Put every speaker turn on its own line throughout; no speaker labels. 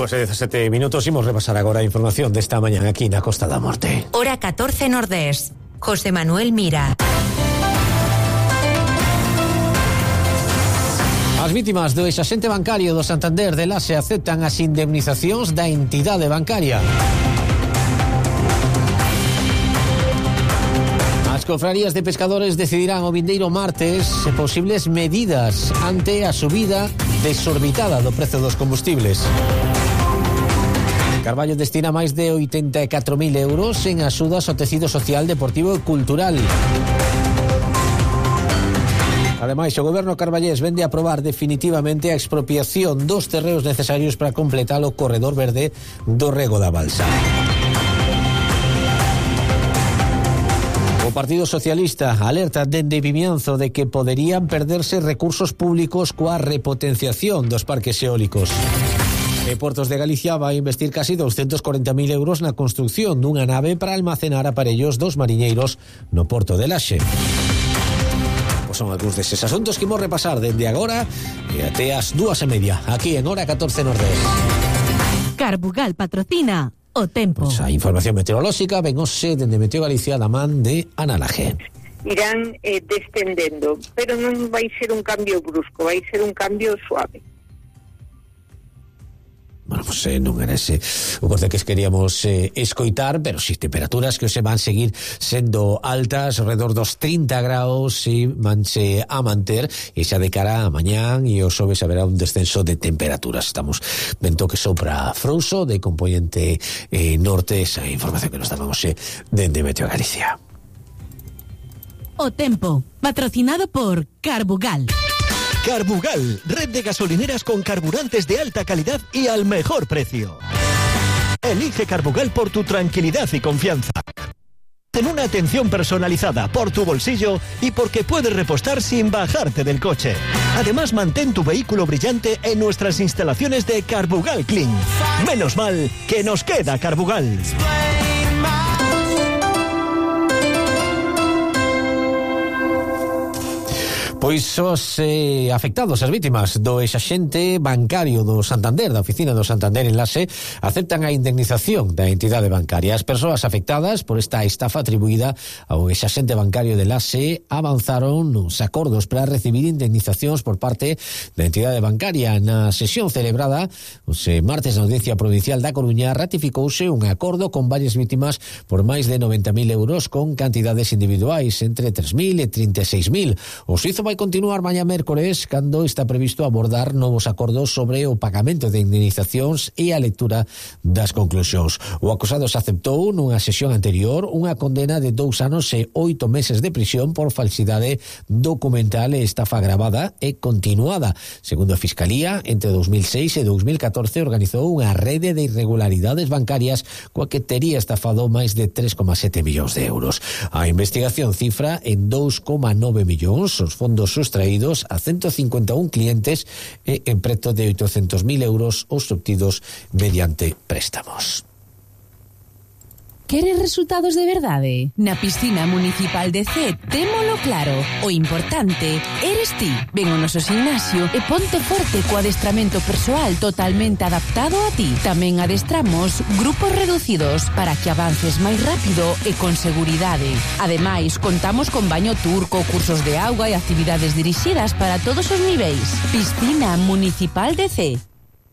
2:17 minutos. Imos repasar agora a información desta mañá aquí na Costa da Morte.
Hora 14 Nordés. José Manuel Mira.
As vítimas do exaxente bancario do Santander de Lase aceptan as indemnizacións da entidade bancaria. As cofrarías de pescadores decidirán o vindeiro martes posibles medidas ante a subida desorbitada do prezo dos combustibles. Carballo destina máis de 84.000 euros en axudas ao tecido social, deportivo e cultural. Ademais, o goberno carballés vende a aprobar definitivamente a expropiación dos terreos necesarios para completar o corredor verde do Rego da Balsa. O Partido Socialista alerta dende Vimianzo de que poderían perderse recursos públicos coa repotenciación dos parques eólicos. E Portos de Galicia vai investir casi 240.000 euros na construción dunha nave para almacenar aparellos dos mariñeiros no Porto de Laxe. Son algúns deses asuntos que imos repasar dende agora e até as 2:30 aquí en Hora 14 Nordés.
Carbugal patrocina o tempo.
Pois a información meteorolóxica ven hoxe dende Meteo Galicia da man de Ana Laje.
Irán descendendo, pero non vai ser un cambio brusco, vai ser un cambio suave.
Bueno, pues non era ese o corte que queríamos escoitar, pero si temperaturas que se van seguir sendo altas, alrededor dos 30 graus, e vanse a manter, e xa de cara a mañán e o xoves haberá un descenso de temperaturas. Estamos vento que sopra frouxo de componente norte, esa información que nos dábamos dende Meteo Galicia.
O tempo, patrocinado por Carbugal.
Carbugal, red de gasolineras con carburantes de alta calidad y al mejor precio. Elige Carbugal por tu tranquilidad y confianza. Ten una atención personalizada por tu bolsillo y porque puedes repostar sin bajarte del coche. Además, mantén tu vehículo brillante en nuestras instalaciones de Carbugal Clean. Menos mal que nos queda Carbugal.
Pois os afectados, as vítimas do exaxente bancario do Santander, da oficina do Santander en Lase, aceptan a indemnización da entidade bancaria. As persoas afectadas por esta estafa atribuída ao exaxente bancario de Lase avanzaron nos acordos para recibir indemnizacións por parte da entidade bancaria. Na sesión celebrada os martes na Audiencia Provincial da Coruña ratificouse un acordo con varias vítimas por máis de 90.000 euros con cantidades individuais entre 3.000 e 36.000. O suizo vai continuar mañá mércores cando está previsto abordar novos acordos sobre o pagamento de indemnizacións e a lectura das conclusións. O acusado se aceptou nunha sesión anterior unha condena de 2 anos e 8 meses de prisión por falsidade documental e estafa agravada e continuada. Segundo a Fiscalía, entre 2006 e 2014 organizou unha rede de irregularidades bancarias coa que tería estafado máis de 3,7 millóns de euros. A investigación cifra en 2,9 millóns os fondos sustraídos a 151 clientes e en preto de 800.000 euros os obtidos mediante préstamos.
Queres resultados de verdade? Na piscina municipal de Cee témolo claro. O importante eres ti. Ven ao noso gimnasio e ponte forte co adestramento persoal totalmente adaptado a ti. Tamén adestramos grupos reducidos para que avances máis rápido e con seguridade. Ademais, contamos con baño turco, cursos de auga e actividades dirixidas para todos os niveis. Piscina municipal de Cee.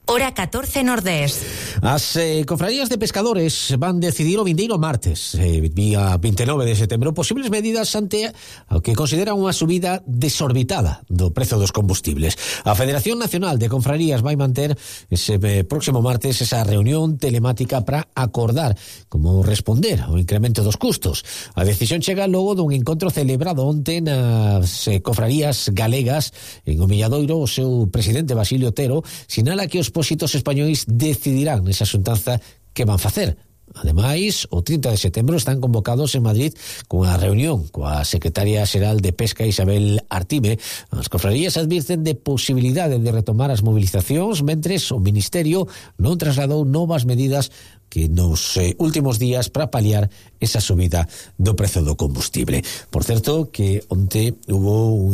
Hora 14 Nordés.
As cofradías de pescadores van decidir o vindeiro martes, día 29 de setembro, posibles medidas ante o que consideran unha subida desorbitada do prezo dos combustibles. A Federación Nacional de Confrarías vai manter ese próximo martes esa reunión telemática para acordar como responder ao incremento dos custos. A decisión chega logo dun encontro celebrado onte nas cofrarías galegas en o Milladoiro. O seu presidente Basilio Otero sinala que os expósitos españois decidirán nesa xuntanza que van facer. Ademais, o 30 de setembro están convocados en Madrid cunha reunión coa secretaria xeral de Pesca Isabel Artime. As cofrarías advirten de posibilidade de retomar as movilizacións mentres o Ministerio non trasladou novas medidas que nos últimos días para paliar esa subida do prezo do combustible. Por certo, que onte hubo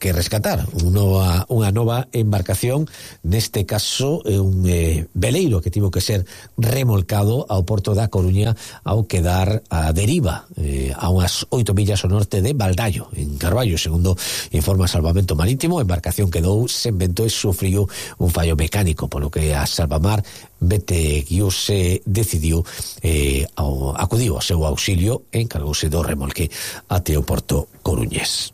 que rescatar unha nova embarcación, neste caso un veleiro que tivo que ser remolcado ao porto da Coruña ao quedar a deriva a unhas 8 millas ao norte de Baldallo, en Carballo. Segundo informa Salvamento Marítimo, a embarcación quedou sen vento e sufriu un fallo mecánico, polo que a Salvamar se decidiu acudiu ao seu auxilio e encargouse do remolque até o porto coruñés.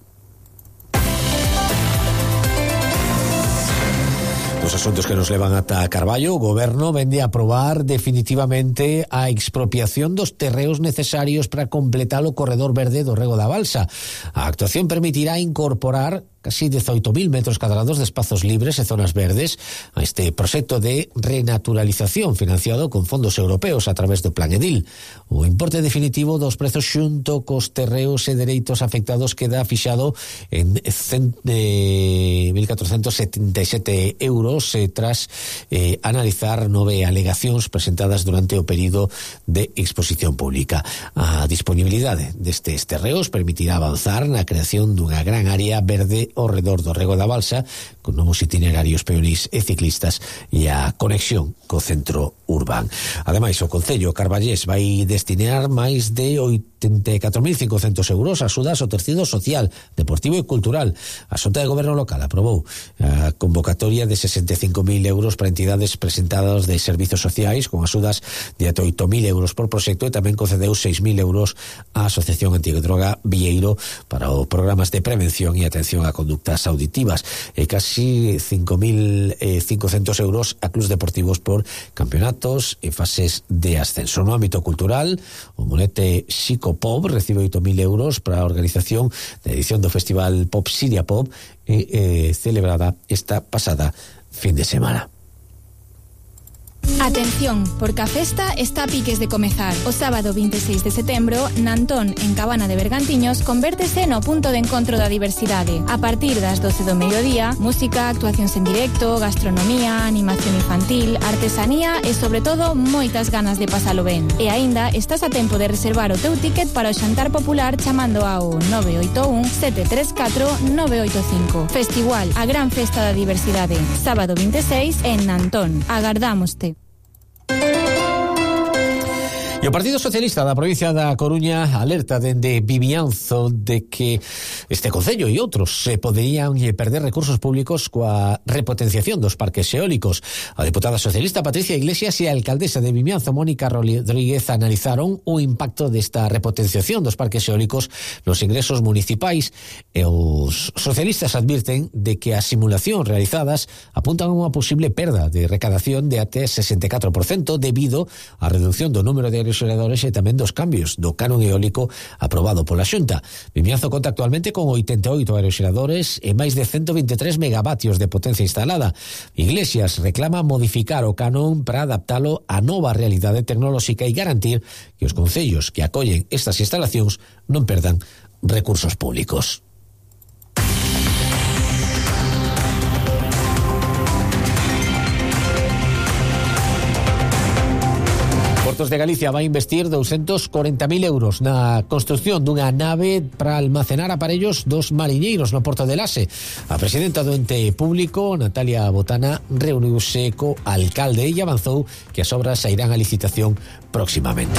Os asuntos que nos levan ata Carballo, o goberno vende a aprobar definitivamente a expropiación dos terreos necesarios para completar o corredor verde do Rego da Balsa. A actuación permitirá incorporar casi 18.000 metros cadrados de espazos libres e zonas verdes a este proxecto de renaturalización financiado con fondos europeos a través do Plan Edil. O importe definitivo dos prezos xunto cos terreos e dereitos afectados queda fixado en 1.477 euros tras analizar 9 alegacións presentadas durante o período de exposición pública. A disponibilidade destes terreos permitirá avanzar na creación dunha gran área verde ao redor do Rego da Balsa, con novos itinerarios peonís e ciclistas e a conexión co centro urbán. Ademais, o Concello carballés vai destinar máis de 84.500 euros a axudas ao tecido social, deportivo e cultural. A Xunta de Goberno local aprobou a convocatoria de 65.000 euros para entidades presentadas de servizos sociais con axudas de ata 8.000 euros por proxecto e tamén concedeu 6.000 euros á Asociación Antidroga Vieiro para os programas de prevención e atención a conductas auditivas e casi 5.500 euros a clubs deportivos por campeonatos e fases de ascenso. No ámbito cultural, o Monete Psicopop recibe 8.000 euros para a organización da edición do Festival Pop Siria Pop celebrada esta pasada fin de semana.
Atención, porque a festa está a piques de comezar. O sábado 26 de setembro, Nantón, en Cabana de Bergantiños, convértese no punto de encontro da diversidade. A partir das 12 do mediodía, música, actuacións en directo, gastronomía, animación infantil, artesanía e, sobre todo, moitas ganas de pasalo ben. E aínda estás a tempo de reservar o teu ticket para o xantar popular chamando ao 981 734 985. Festival, a gran festa da diversidade. Sábado 26 en Nantón. Agardámoste.
E o Partido Socialista da provincia da Coruña alerta dende Vimianzo de que este concello e outros se poderían perder recursos públicos coa repotenciación dos parques eólicos. A deputada socialista Patricia Iglesias e a alcaldesa de Vimianzo, Mónica Rodríguez, analizaron o impacto desta repotenciación dos parques eólicos nos ingresos municipais e os socialistas advirten de que as simulacións realizadas apuntan a unha posible perda de recadación de até 64% debido á reducción do número de aeroxeradores e tamén dos cambios do canon eólico aprobado pola Xunta. Vimianzo conta actualmente con 88 aeroxeradores e máis de 123 megavatios de potencia instalada. Iglesias reclama modificar o canon para adaptalo á nova realidade tecnolóxica e garantir que os concellos que acollen estas instalacións non perdan recursos públicos. Portos de Galicia vai investir 240.000 euros na construción dunha nave para almacenar aparellos dos mariñeiros no Porto de Lase. A presidenta do ente público, Natalia Botana, reuniuse co alcalde e avanzou que as obras sairán a licitación próximamente.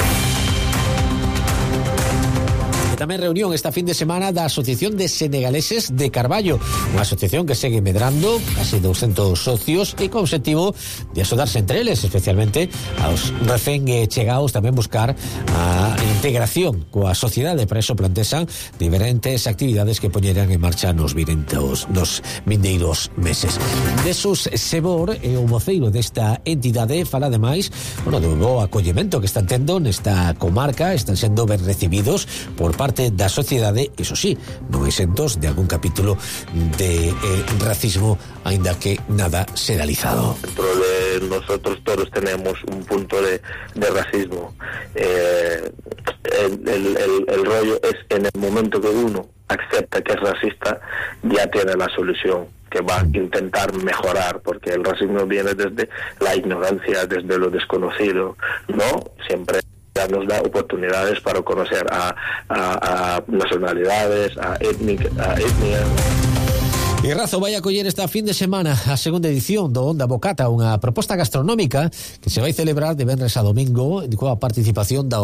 Tamén reunión esta fin de semana da Asociación de Senegaleses de Carballo, unha asociación que segue medrando, casi 200 socios e co obxectivo de axudarse entre eles, especialmente aos recén chegados, tamén buscar a integración coa sociedade. Para iso plantean diferentes actividades que poñeran en marcha nos vindeiros meses. Jesús Sebor é o voceiro desta entidade, fala ademais do bo acollemento que están tendo nesta comarca, están sendo ben recibidos por parte da sociedade, iso sí, non exentos de algún capítulo de racismo, aínda que nada serializado.
Dentro de nosotros todos tenemos un punto de racismo. El rollo es en el momento que uno acepta que es racista, ya tiene la solución, que va a intentar mejorar, porque el racismo viene desde la ignorancia, desde lo desconocido, ¿no? Siempre nos da oportunidades para conocer a nacionalidades, a etnias.
E Razo vai acoller esta fin de semana a segunda edición do Onda Bocata, unha proposta gastronómica que se vai celebrar de venres a domingo coa participación da